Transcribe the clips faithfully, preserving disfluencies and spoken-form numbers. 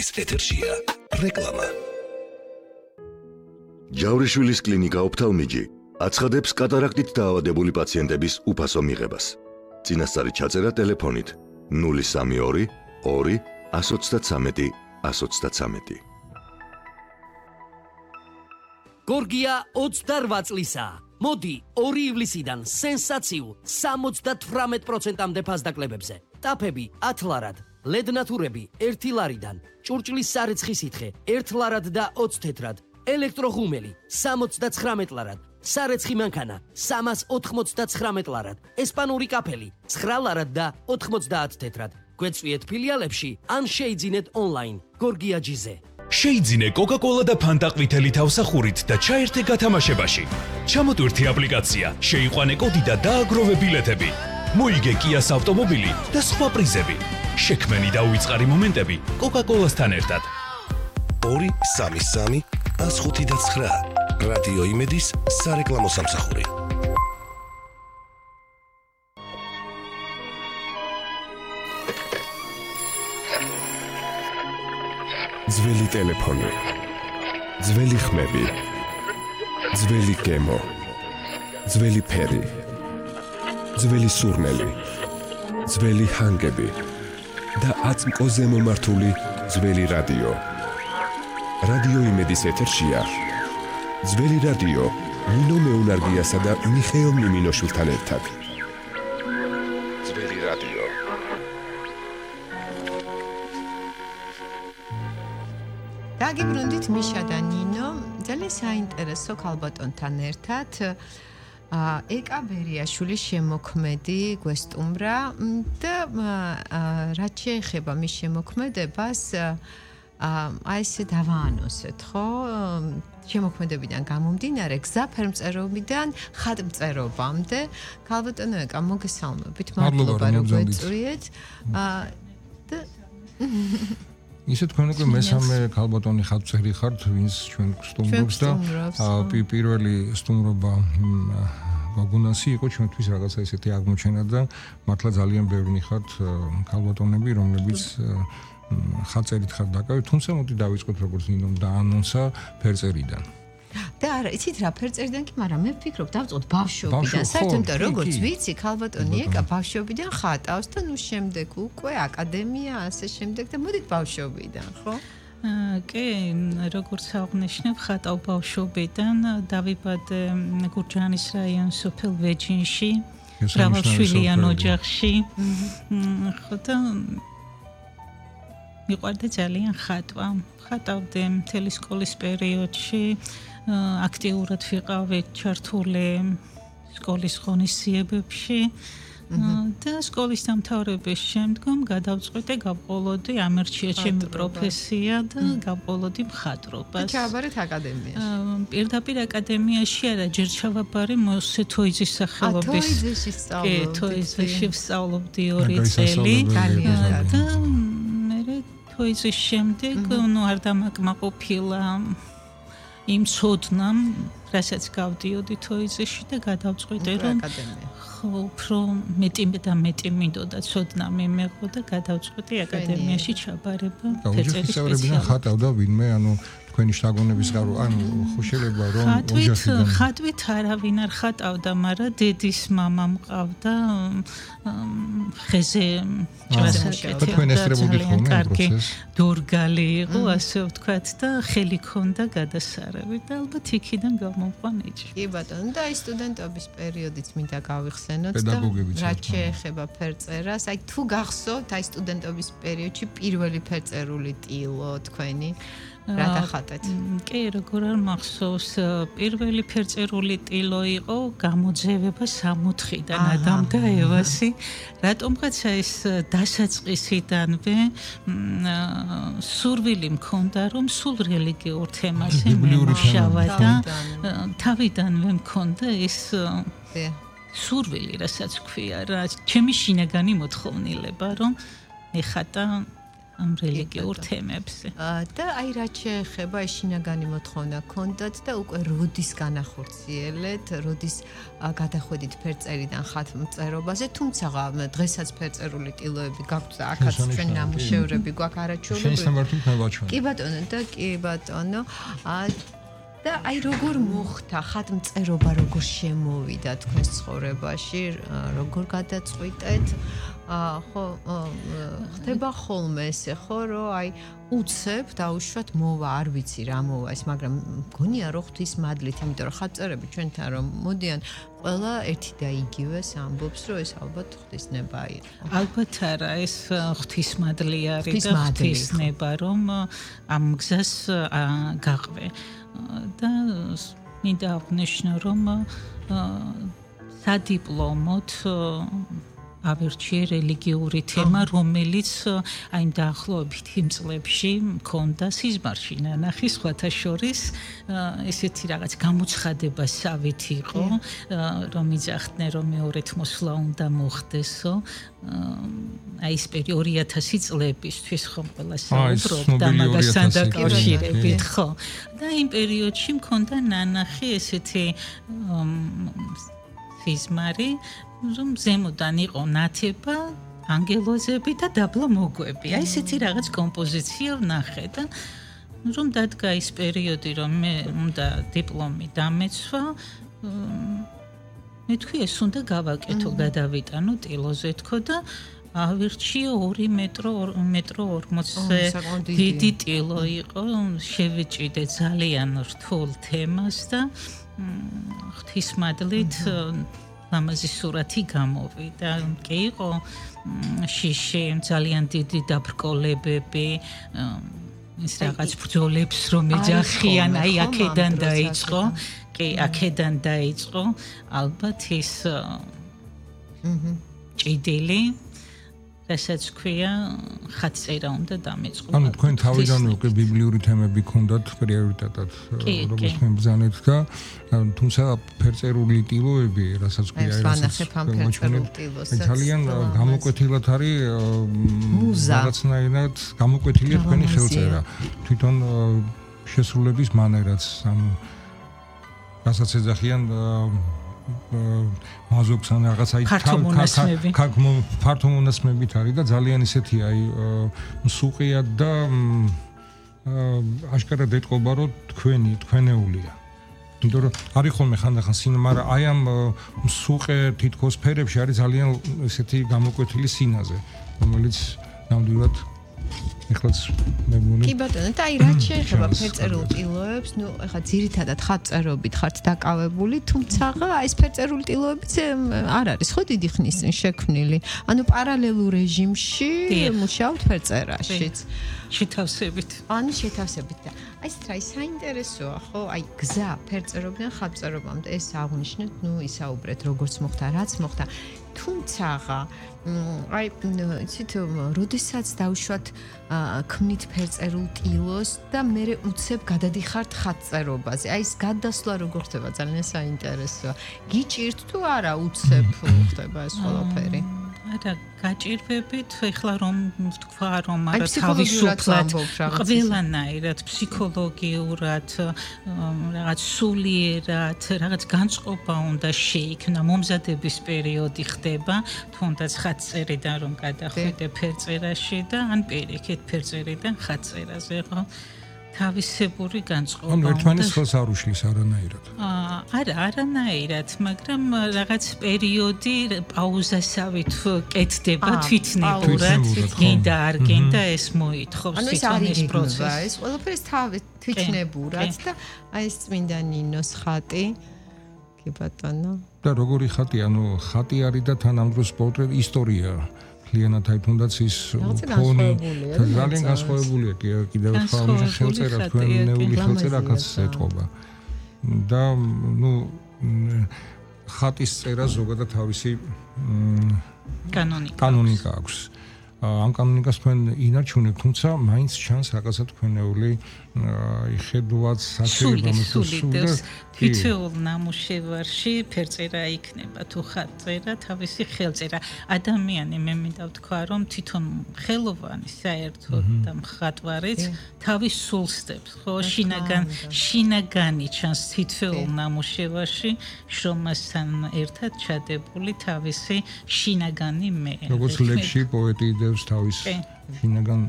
ის ეთერშია რეკლამა. ჯავრიშვილის კლინიკა ოფთალმიჯი აცხადებს კატარაქტით დაავადებული პაციენტების უფასო მიღებას. წინასწარი ჩაწერა ტელეფონით ნული სამი ორი ორი εκατს ოცდათვრამეტი εκατს ოცდათვრამეტი. გორგია ოცდარვა წლისაა. მოდი ორი ივლისიდან სენსაციულ სამოცდათვრამეტ პროცენტამდე ფასდაკლებებზე. ტაფები ათ ლარად, ლედნათურები ერთი ლარიდან, ჭურჭლის სარეცხი სითხე ერთ ლარად და ოცი თეთრად, ელექტროღუმელი სამოცდაცხრამეტ ლარად, სარეცხი მანქანა სამას ოთხმოცდაცხრამეტ ლარად, ესპანური კაფელი ცხრა ლარად და ოთხმოცდაათ თეთრად. გვეწვიეთ ფილიალებში ან შეიძინეთ ონლაინ გორგია ჯიზე. შეიძინე კოკა-კოლა და ფანტა ყვითელი თავსახურით და ჩაერთე გათამაშებაში. ჩამოტვირთი აპლიკაცია, შეიყვანე კოდი და დააგროვე ბილეთები. მოიგე კიას ავტომობილი და სხვა პრიზები. შექმენი და უიწყარი მომენტები კოკა-კოლასთან ერთად. ორი სამი სამი ას ხუთი და ცხრა. რადიო იმედის სარეკლამო სამსახური. ძველი ტელეფონი, ძველი ხმები, ძველი გემო, ძველი ფერი, ძველი სურნელი, ძველი ჰანგები და აწმკოზე მომართული ძველი რადიო. რადიო იმედის ეთერშია ძველი რადიო ნინო მეუნარგიასა და მიხეილ მიმინოშვილთან ერთად. ძველი რადიო. დაგიბრუნდით მიშა და ნინო, ძალიან საინტერესო ქალბატონთან ერთად ეკა ბერიაშვილის შემოქმედი გვესტუმრა და რაც შეეხება მის შემოქმედებას აი ესე დავაანონსეთ, ხო? შემოქმედებიდან გამომდინარე გზა ფერმწერობიდან ხატმწერობამდე. ქალბატონო ეკა, მოგესალმებით, მადლობა რომ გვეწვიეთ. და ისე თქვენ უკვე მესამე ქალბატონი ხატმწერი ხართ, ვინც ჩვენ სტუმრობს და პირველი სტუმრობა გოგუნასი იყო ჩვენთვის რაღაცა ისეთი აღმოჩენა და მართლა ძალიან ბევრი ხართ ქალბატონები, რომლებიც ხატწერით ხართ დაკავებული, თუმცა მოდი დავიწყოთ როგორც ნინომ დაანონსა ფერწერიდან. და არა, იცით რა, ფერწერიდან კი, მაგრამ მე ვფიქრობ, დავწყოთ ბავშვობიდან. საერთოდ როგორც ვიცი, ქალბატონი ეკა ბავშვობიდან ხატავს და ნუ შემდეგ უკვე აკადემია, ასე შემდეგ და მოდით ბავშვობიდან, ხო? კი, როგორც აღნიშნებ, ხატავ ბავშვობიდან, დავიბადე გურჯაანის რაიონის სოფელ ვეჯინში, მრავალშვილიან ოჯახში. ხო და მიყვარდა ძალიან ხატვა. ხატავდი მთელი სკოლის პერიოდში. აქტიურად ვიყავი ჩართული სკოლის ღონისძიებებში და სკოლის დამთავრების შემდგომ გადავწყვიტე გავყოლოდი ამერჩია ჩემი პროფესია და გავყოლოდი მხატვრობას. ჩააბარეთ აკადემიაში. პირდაპირ აკადემიაში არა, ჯერ ჩავაბარე მოსე თოიძის სახელობის. თოიძეში სწავლობდი. კი, თოიძეში ვსწავლობდი ორი წელი და მე თოიძის შემდეგ ნუ არ დამაკმაყოფილა იმ ცოდნამ, რასაც გავდიოდი თოიძეში და გადავწყვიტე რომ ხო, უფრო მეტი და მეტი მინდოდა ცოდნა მიმეღო და გადავწყვიტე აკადემიაში ჩაბარება ფერწერის სპეციალობით. ხატავდა ვინმე, ანუ თქვენი შთაგონების გარო, ანუ ხო შეიძლება რომ ოჯახიდან ხატვით არავინ არ ხატავდა, მაგრამ დედის მამა მყავდა ხეზე ჭრასაკეთი და კარგი დორგალი იყო, ასე ვთქვათ და ხელი ქონდა გადასარევი და ალბათ იქიდან გამომყვან ეჭვი. კი ბატონო, და აი სტუდენტობის პერიოდიც მინდა გავიხსენოთ და რაც შეეხება ფერწერას, აი თუ გახსოვთ აი სტუდენტობის პერიოდში პირველი ფერწერული ტილო თქვენი რა დახატეთ? კი, როგორ არ მახსოვს, პირველი ფერწერული ტილო იყო გამოძევება სამოთხიდან ადამ და ევასი. რატომღაცა ეს დასაწყისიდანვე სურვილი მქონდა, რომ სულ რელიგიურ თემაზე მემუშავა და თავიდანვე მქონდა ეს სურვილი, რასაც ქვია, რა ჩემი შინაგანი მოთხოვნილება, რომ ეხატა ამ რელიგიურ თემებზე. და აი რაც შეეხება შინაგანი მოთხოვნა ქონდათ და უკვე როდის განახორციელეთ, როდის გადახვედით ფერწერიდან ხატმწერობაზე, თუმცა დღესაც ფერწერული ტილოები გაქვთ და აქაც ჩვენ ნამუშევრები გვაქვს არაჩვეულებრივი. შენ სამართლით მევაჩვენე. კი ბატონო და კი ბატონო. და აი როგორ მოხდა ხატმწერობა, როგორ შემოვიდა თქვენს ცხოვრებაში, როგორ გადაწყვიტეთ? ხო, ხდება ხოლმე ესე ხო, რომ აი უცებ დაუშვათ მოვა, არ ვიცი რა მოვა ეს, მაგრამ მგონია რომ ღვთის მადლით, იმიტომ რომ ხატწერები ჩვენთან რომ მოდიან, ყველა ერთი და იგივეს ამბობს, რომ ეს ალბათ ღვთისნება იყო. ალბათ არა, ეს ღვთის მადლი არის და ღვთისნება, რომ ამ გზას გაყვე. და მინდა აღნიშნო, რომ სადიპლომოთ ავირჩიე რელიგიური თემა, რომელიც აი დაახლოებით იმ წლებში მქონდა სიზმარში ნანახი სხვათა შორის, ესეთი რაღაც გამოცხადებასავით იყო, რომ იძახდნენ, რომ მეორედ მოსვლა უნდა მოხდესო. აი ეს პერიოდი ორი ათასი წლებისთვის ხომ ყველა საუბრობდა მაგასთან დაკავშირებით, ხო. და იმ პერიოდში მქონდა ნანახი ესეთი სიზმარი, რომ ზემოდან იყო ნათება, ანგელოზები და დაბლა მოგვები. აი ესეთი რაღაც კომპოზიცია ვნახე და რომ დადგა ის პერიოდი, რომ მე უნდა დიპლომი დამეცვა, მე თქვი ეს უნდა გავაკეთო, გადავიტანო ტილოზე თქო და ავირჩიე ორი მეტრო მეტრო ორმოცზე დიდი ტილო იყო, შევიჭიდე ძალიან რთულ თემას და ღვთისმადლით ლამაზი სურათი გამოვიდა. კი იყო შიში, ძალიან დიდი დაბრკოლებები, ის რაღაც ბრძოლებს რომ ეძახიან, აი აქედან დაიწყო, კი, აქედან დაიწყო, ალბათ ის ჭიდილი, რასაც ქვია, ხატწერა უნდა დამეწყო. ანუ თქვენ თავიდანვე უკვე ბიბლიური თემები გქონდათ პრიორიტეტად, როგორც მებრძანეთ და თუმცა ფერწერული ტილოები, რასაც ქვია, რასაც ძალიან გამოკვეთილად არის რაღაცნაირად გამოკვეთილია თქვენი ხელწერა. თვითონ შესრულების მანერაც, ანუ რასაც ეძახიან მაზოქს ან რაღაც აი ფართომონაცმებით არის და ძალიან ისეთი აი მსუყია და აშკარად ეტყობა რომ თქვენი თქვენეულია. იმიტომ რომ არის ხოლმე ხანდახან სინema, მაგრამ აი ამ მსუყე თითქოს ფერებში არის ძალიან ესეთი გამოკვეთილი სინაზე, რომელიც ნამდვილად ეხლაც მე მგონი. კი ბატონო, და აი რაც შეეხება ფერწერულ ტილოებს, ნუ ეხლა ძირითადად ხატწერობით ხართ დაკავებული, თუმცა ეს ფერწერული ტილოებიც არ არის ხო დიდი ხნის წინ შექმნილი. ანუ პარალელურ რეჟიმში მუშაობთ ფერწერაშიც. შეთავსებით. ანუ შეთავსებით და აი ეს რა საინტერესოა, ხო? აი გზა ფერწერობიდან ხატწერობამდე ეს აღნიშნეთ, ნუ ისაუბრეთ როგორც მოხდა, რაც მოხდა. თუმცა აი იცით, როდესაც დავუშვათ ქმნით ფერწერულ ტილოს და მე უცებ გადადიხართ ხატწერობაზე. აი ეს გადასვლა როგორ ხდება, ძალიან საინტერესოა. გიჭირთ თუ არა უცებ ხდება ეს ყველაფერი? არა, გაჭირვებით, ეხლა რომ თქვა რომ არა თავისუფლად ყველანაირად ფსიქოლოგიურად, რაღაც სულიერად, რაღაც განწყობა უნდა შეიქმნა, მომზადების პერიოდი ხდება, თუნდაც ხატწერიდან რომ გადახვიდე ფერწერაში და ან პირიქით ფერწერიდან ხატწერაზე, ხო? თავისებური განწყობა. ანუ ერთმანეთს ხელს არ უშლის არანაირად. არა, არანაირად, მაგრამ რაღაც პერიოდი პაუზასავით კეთდება თვითნებურად, გინდა არ გინდა ეს მოითხოვს თვითონ ეს პროცესი. ეს ყველაფერი თვითნებურად და აი ეს წმინდა ნინოს ხატი. კი ბატონო. და როგორი ხატი, ანუ ხატი არის და თანამდროულს პორტრეტი ისტორია. ლიანად აი თუნდაც ის ფონი ძალიან განსხვავებულია კი კიდევ ერთხელ ამის ხელწერა თქვენეული ხელწერა აქაც ეთყობა და ნუ ხატის წერა ზოგადად თავისი კანონიკა კანონიკა აქვს ამ კანონიკას თქვენ ინარჩუნებთ, თუმცა მაინც ჩანს რაღაცა თქვენეული იხედუაც საჭიროება მოსულს თითოეულ ნამუშევარში ფერწერა იქნება თუ ხატწერა, თავისი ხელწერა. ადამიანი მე მინდა ვთქვა, რომ თვითონ ხელოვანი საერთოდ და მხატვარიც თავის სულსდებს, ხო, შინაგან შინაგანი ჩანს თითოეულ ნამუშევარში, შრომასთან ერთად ჩადებული თავისი შინაგანი მე. როგორც ლექსში პოეტი იდევს თავის შინაგან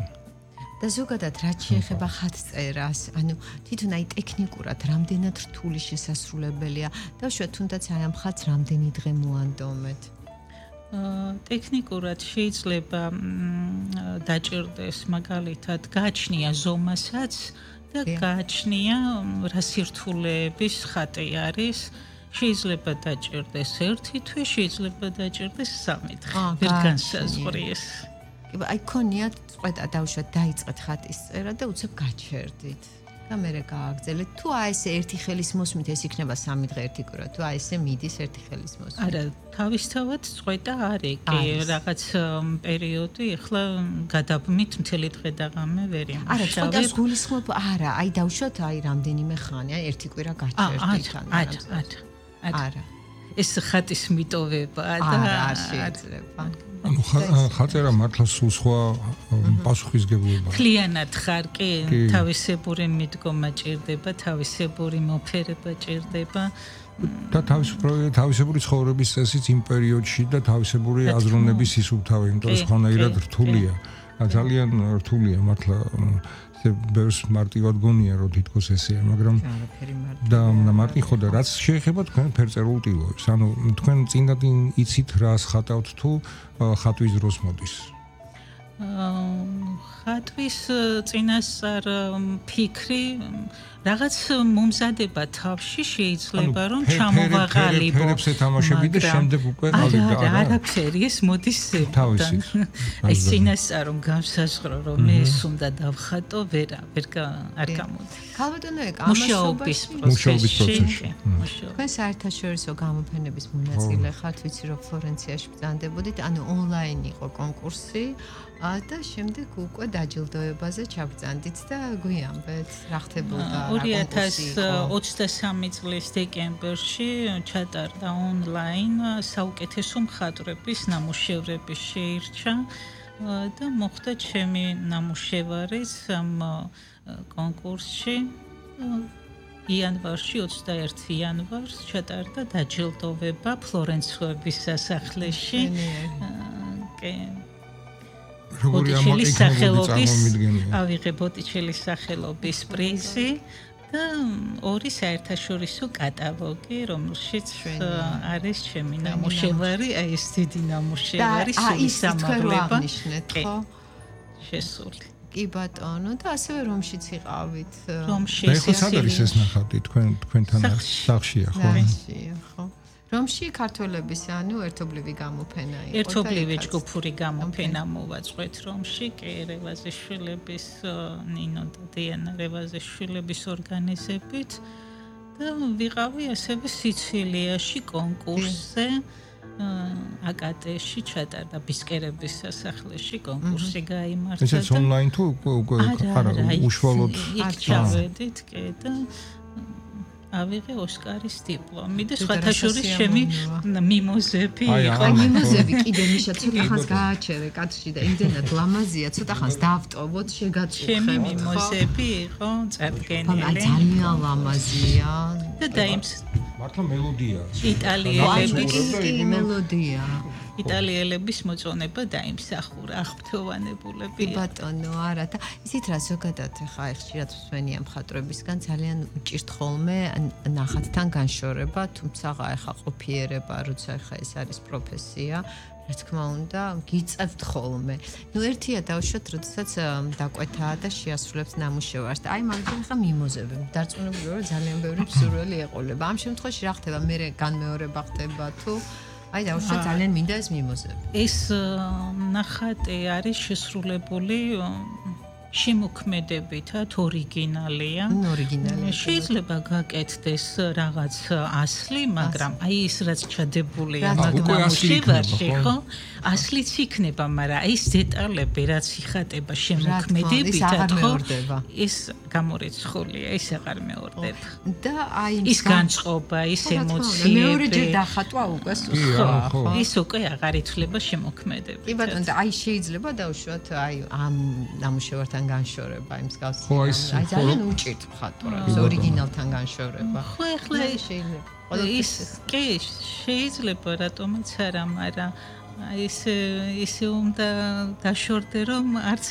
და ზოგადად რაც შეეხება ხატწერას, ანუ თვითონ აი ტექნიკურად რამდენად რთული შესასრულებელია და უშუალოდ თუნდაც აი ამ ხატს რამდენი დღე მოანდომეთ? ტექნიკურად შეიძლება დაჭირდეს მაგალითად გააჩნია ზომასაც და გააჩნია რა სირთულეების ხატი არის. შეიძლება დაჭირდეს ერთი თვე, შეიძლება დაჭირდეს სამი დღე. ვერ განსაზღვრის. აი ქონიათ წვედა დავუშვათ დაიწყეთ ხატის წერა და უცებ გაჩერდით და მერე გააგრძელეთ თუ აი ესე ერთი ხელის მოსმით ეს იქნება სამი დღე ერთი კვირა თუ აი ესე მიდის ერთი ხელის მოსმით არა თავისთავად წვედა არის კი რაღაც პერიოდი ახლა გადაბმით მთელი დღე და ღამე ვერ იმუშავებ არა წვედას გულისხმობ არა აი დავუშვათ აი რამდენიმე ხანი აი ერთი კვირა გაჩერდით არა არა არა ეს ხატის მიტოვება და არა შეიძლება ანუ ხაწერა მართლა სულ სხვა პასუხისგებლობაა. მთლიანად ხარ კი, თავისებური მიდგომა ჭირდება, თავისებური მოფერება ჭირდება. და თავისებური თავისებური ცხოვრების წესიც იმ პერიოდში და თავისებური აზროვნების სისუფთავე, იმიტომ რომ სხვანაირად რთულია. ძალიან რთულია მართლა ბევრს მარტივად გონია რომ თითქოს ესეა, მაგრამ და მარტი ხო და რაც შეეხება თქვენ ფერწერულ ტილოებს, ანუ თქვენ წინდად იცით რას ხატავთ თუ ხატვის დროს მოდის? ხატვის წინასწარ ფიქრი რაღაც მომზადება თავში შეიძლება რომ ჩამოვაყალიბო. ფერებს ეთამაშები და შემდეგ უკვე ყალიბდა. არა, არაფერი ეს მოდის ზებთან. აი წინასწარ რომ განსაზღვრო რომ მე ეს უნდა დავხატო, ვერა, ვერ არ გამოდის. ქალბატონო ეკ ამაშობის პროცესში. თქვენ საერთაშორისო გამოფენების მონაწილე ხართ, ვიცი რომ ფლორენციაში ბრძანდებოდით, ანუ ონლაინ იყო კონკურსი. და შემდეგ უკვე დაჯილდოებაზე ჩაბრძანდით და გვიამბეთ რა ხდებოდა ორი ათას ოცდასამი წლის დეკემბერში ჩატარდა ონლაინ საუკეთესო მხატვრების ნამუშევრების შეირჩა და მოხდა ჩემი ნამუშევარიც ამ კონკურსში იანვარში ოცდაერთი იანვარს ჩატარდა დაჯილდოვება ფლორენციის სასახლეში კი როგორი ამაკითხები წარმომიდგენია. ავიღე ბოტიჩელის სახელობის პრიზი და ორი საერთაშორისო კატალოგი, რომელშიც არის ჩემი ნამუშევარი, აი ეს დიდი ნამუშევარი, სულისამაღლება. ხო? შესული. კი ბატონო და ასევე რომშიც იყავით. რომში ეს არის ეს ნახატი თქვენ თქვენთან სახშია ხო? სახშია ხო? რომში ქართველების ანუ ერთობლივი გამოფენა იყო და ერთობლივი ჯგუფური გამოფენა მოვაწყვეთ რომში კი რევაზიშვილების ნინო და დიანა რევაზიშვილების ორგანიზებით და ვიყავი ასევე სიცილიაში კონკურსზე აკატეში ჩატარდა ბისკერების სასახლეში კონკურსი გაიმართა და ეს ონლაინ თუ უკვე არა უშუალოდ იქ ჩავედით კი და ავიღე ოსკარის დიპლომი და სხვათა შორის ჩემი მიმოზები იყო. მიმოზები კიდე მიშა ცოტა ხანს გააჩერე კადრში და იმდენად ლამაზია, ცოტა ხანს დავტოვოთ, შეგაწუხებ. ჩემი მიმოზები იყო წარდგენილი. აი ძალიან ლამაზია. და დაიმს მართლა მელოდია. იტალიელების მელოდია. იტალიელების მოწონება დაიმსახურა აღფრთოვანებულები. ბატონო, არა და ისიც რა ზოგადად ხა ხშირად ვსვენია მხატვრებისგან ძალიან უჭირთ ხოლმე ნახატთან განშორება, თუმცა ხა ყოფიერება, როცა ხა ეს არის პროფესია, რა თქმა უნდა, გიწევთ ხოლმე. ნუ ერთია დავუშვათ, როდესაც დაკვეთაა და შეასრულებს ნამუშევარს და აი მაგალითად ხა მიმოზები. დარწმუნებული ვარ, ძალიან ბევრი მსურველი ეყოლება. ამ შემთხვევაში რა ხდება? მე განმეორება ხდება თუ აი დავუშვათ ძალიან მინდა ეს მიმოზები. ეს ნახატი არის შესრულებული შემოქმედებითად ორიგინალია. ორიგინალია. შეიძლება გაკეთდეს რაღაც ასლი, მაგრამ აი ის რაც ჩადებულია უკვე ასლი მაგდამუშევარში, ხო? ასლიც იქნება, მაგრამ აი ეს დეტალები რაც იხატება შემოქმედებითად, ხო? ეს გამორიცხულია, ეს აღარ მეორდება. და აი ის განწყობა, ის ემოციები. მეორეჯერ დახატვა უკვე ხო, ის უკვე აღარ ითვლება შემოქმედებით. კი ბატონო, და აი შეიძლება დავუშვათ აი ამ ნამუშევართან განშორება იმ მსგავსი. აი ძალიან უჭირთ მხატვრებს ორიგინალთან განშორება. ხო, ახლა შეიძლება. ის კი შეიძლება რატომაც არა, მაგრამ ის ისე უნდა დაშორდე რომ არც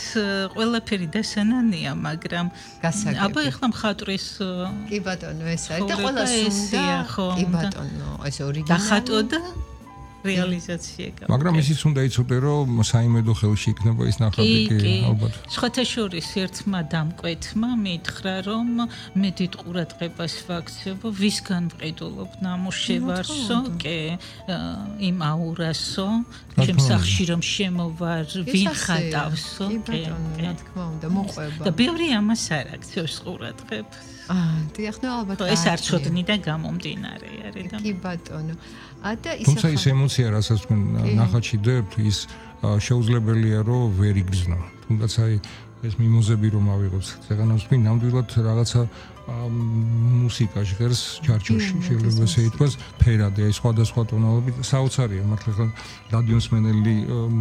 ყველაფერი დასანანია, მაგრამ აბა ეხლა მხატვრის კი ბატონო ეს არის და ყველა სუნდა კი ბატონო ეს ორიგინალი დახატო და რეალიზაცია გავა. მაგრამ ისიც უნდა იცოდე რომ საიმედო ხელში იქნება ის ნახატი კი ალბათ. სხვათა შორის ერთმა დამკვეთმა მითხრა რომ მე დიდ ყურადღებას ვაქცევ ვისგან ვყიდულობ ნამუშევარსო, კი იმ აურასო, ჩემ სახში რომ შემოვარ, ვინ ხატავსო, კი რა თქმა უნდა მოყვება. და ბევრი ამას არ აქცევს ყურადღებას. აა დიახ, ნუ ალბათ ეს არ ცოდნი და გამომდინარე არის და კი ბატონო. და ის თუმცა ის ემოცია, რასაც თქვენ ნახატში დებთ, ის შეუძლებელია რომ ვერ იგრძნო. თუნდაც აი ეს მიმოზები რომ ავიღოთ, ზეგანავს თქვენ ნამდვილად რაღაცა მუსიკა ჟღერს ჩარჩოში, შეიძლება ესე ითქვას, ფერადი, აი სხვადასხვა ტონალობით, საოცარია მართლა ხა რადიოსმენელი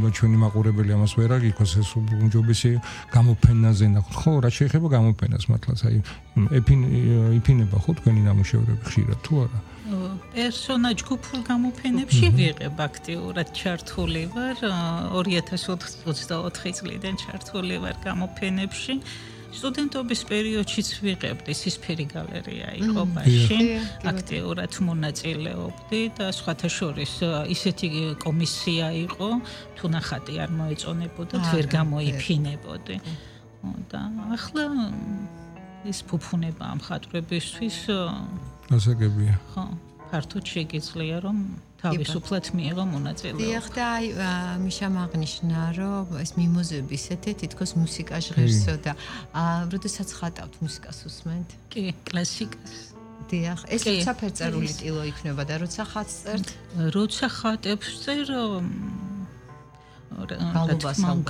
და ჩვენი მაყურებელი ამას ვერ აგიქვას, ეს უმჯობესია გამოფენაზე ნახოთ. ხო, რა შეიძლება გამოფენას მართლაც, აი იფინება ხო თქვენი ნამუშევრები ხშირად თუ არა? პერსონაჟ ჯგუფურ გამოფენებში ვიღებ აქტიურად ჩართული ვარ ორი ათას ოცდაოთხი წლიდან ჩართული ვარ გამოფენებში სტუდენტობის პერიოდშიც ვიღებდი სისფერი გალერეა იყო ბაში აქტიურად მონაწილეობდი და სხვათა შორის ისეთი კომისია იყო თუ ნახატი არ მოეწონებოდა ვერ გამოიფინებოდი და ახლა ის ფუფუნება ამ მხატვრებისთვის ასაგებია. ხო, ფართოდ შეგიძლია რომ თავისუფლად მიიღო მონაწილეობა. დიახ და აი მიშამ აღნიშნა რომ ეს მიმოზები ისეთი თითქოს მუსიკა ჟღერსო და როდესაც ხატავთ მუსიკას უსმენთ? კი, კლასიკას. დიახ, ეს როცა ფერწერული ტილო იქნება და როცა ხატს წერთ? როცა ხატებს წერ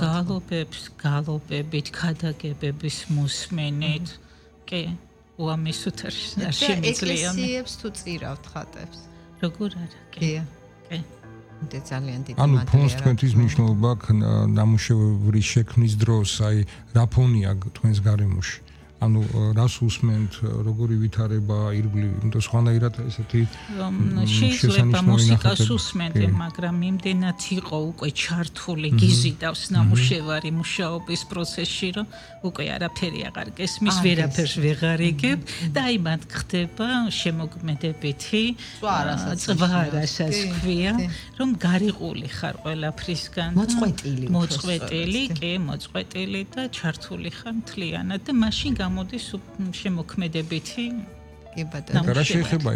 გალობებს, გალობებით, ქადაგებების მოსმენით. კი უამესოდ არ შემიძლია. ეკლესიებს თუ წირავთ ხატებს? როგორ არა? კი. კი. და ძალიან დიდი ანუ ფონს თქვენთვის მნიშვნელობა აქვს ნამუშევრის შექმნის დროს, აი რა ფონია თქვენს გარემოში? ანუ რას უსმენთ, როგორი ვითარება, ირგვლივ, იმიტომ სხვანაირად ესეთი შეიძლება მუსიკას უსმენთ, მაგრამ იმდენად იყო უკვე ჩართული გიზიდავს ნამუშევარი მუშაობის პროცესში, რომ უკვე არაფერი აღარ გესმის, ვერაფერს ვეღარ იგებ და აი მანდ ხდება შემოგმედებითი წვა რასაც ქვია, რომ გარიყული ხარ ყველაფრისგან. მოწყვეტილი. მოწყვეტილი, კი, მოწყვეტილი და ჩართული ხარ მთლიანად და მაშინ გამოდის შემოქმედებითი კი ბატონო. რა შეიძლება